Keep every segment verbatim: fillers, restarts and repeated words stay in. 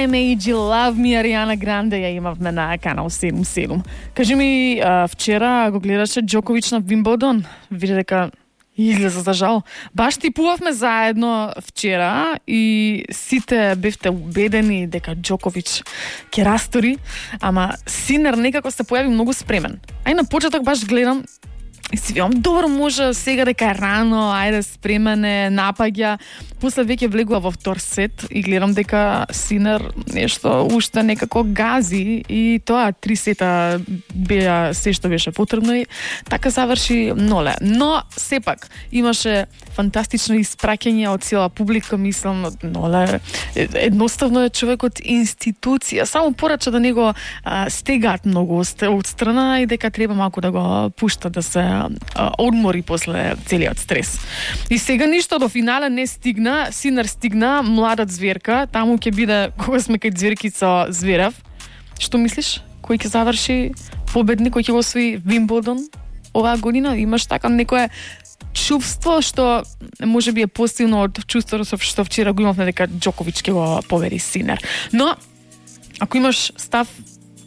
I Made You Love Me, Ариана Гранде ја имавме на канал седум седум. Кажи ми, а, вчера го гледаше Џокович на Вимбелдон? Види дека излеза за жал. Баш типувавме заедно вчера и сите бевте убедени дека Џокович ќе растори, ама Синер некако се појави многу спремен. Ај на почеток баш гледам и си викам, добро, може сега дека е рано, ајде спремен е, напаѓа. После веќе влегува во втор сет и гледам дека Синер нешто уште некако гази и тоа три сета беа се што беше потребно и така заврши ноле. Но сепак имаше фантастично испраќање од цела публика, мислам, ноле. Едноставно е човекот институција, само порача да него а, стегаат многу од страна и дека треба малку да го пушта да се а, одмори после целиот стрес. И сега ништо до финале не стигна. Синер стигна, младат зверка, таму ќе биде кога сме кај зверкица Зверев. Што мислиш? Кој ќе заврши победник, кој ќе го освои Вимбелдон оваа година? Имаш така некое чувство што можеби е посилно од чувството што вчера го имавме дека Џокович ќе го победи Синер. Но ако имаш став,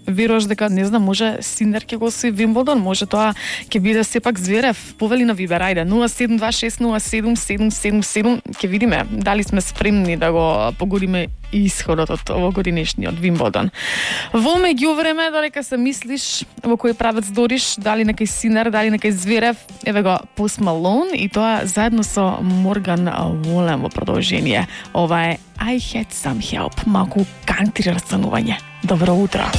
веруваш дека, не знам, може Синер ќе го освои Вимбелдон, може тоа ќе биде сепак Зверев. Повели на Вибер, ајде, нула седум два шест нула седум седум седум седум, ќе видиме дали сме спремни да го погодиме исходот од овогодинешниот Вимбелдон. Во меѓувреме, додека се мислиш во кој правец дориш, дали некај Синер, дали некај Зверев, еве го Пост Малон и тоа заедно со Морган Волен во продолжение. Ова е I Had Some Help, малку кантри расценување. Добро утро.